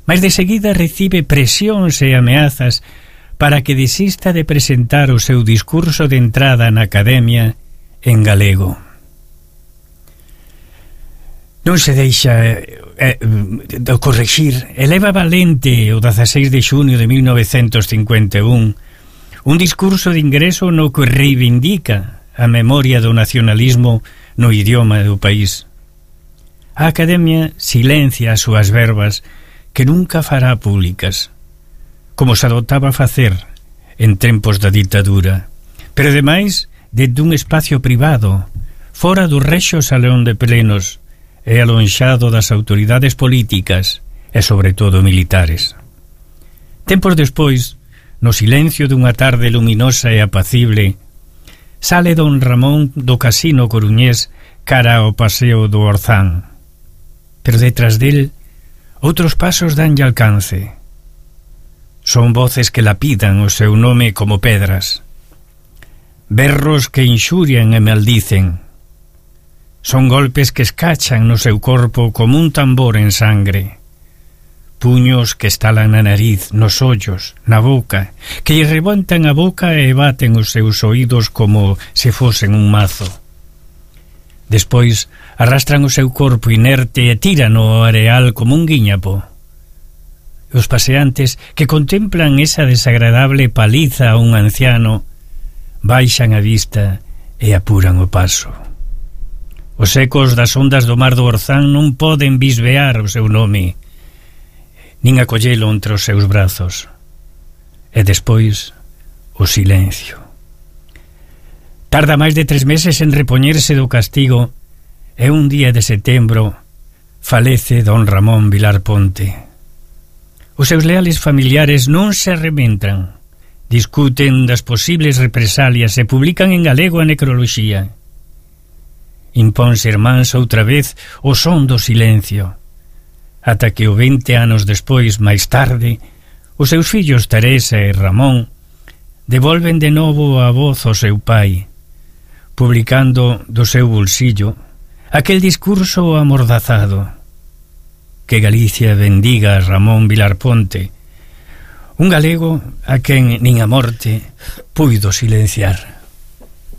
mas de seguida recibe presións e ameazas para que desista de presentar o seu discurso de entrada na Academia en galego. Non se deixa corrixir. Eleva valente o 16 de xunio de 1951 un discurso de ingreso no que reivindica a memoria do nacionalismo no idioma do país. A Academia silencia as súas verbas que nunca fará públicas, como se adoptaba a facer en tempos da ditadura, pero ademais dende un espacio privado, fora do rexo salón de plenos e alonxado das autoridades políticas e sobre todo militares. Tempos despois, no silencio dunha tarde luminosa e apacible, sale don Ramón do casino coruñés cara ao paseo do Orzán, pero detrás del outros pasos danlle alcance. Son voces que lapidan o seu nome como pedras, berros que inxurian e maldicen. Son golpes que escachan no seu corpo como un tambor en sangre, puños que estalan na nariz, nos ollos, na boca, que lle rebontan a boca e baten os seus oídos como se fosen un mazo. Despois arrastran o seu corpo inerte e tiran ao areal como un guiñapo. Os paseantes que contemplan esa desagradable paliza a un anciano baixan a vista e apuran o paso. Os ecos das ondas do mar do Orzán non poden bisbear o seu nome, nin acollelo entre os seus brazos. E despois, o silencio. Tarda máis de 3 meses en repoñerse do castigo e un día de setembro falece don Ramón Vilar Ponte. Os seus leales familiares non se arrementan, discuten das posibles represalias e publican en galego a necroloxía. Impónse irmáns outra vez o son do silencio, ata que o 20 anos despois, máis tarde, os seus fillos Teresa e Ramón devolven de novo a voz ao seu pai, publicando do seu bolsillo aquel discurso amordazado: que Galicia bendiga a Ramón Vilar Ponte, un galego a quen nin a morte puido silenciar.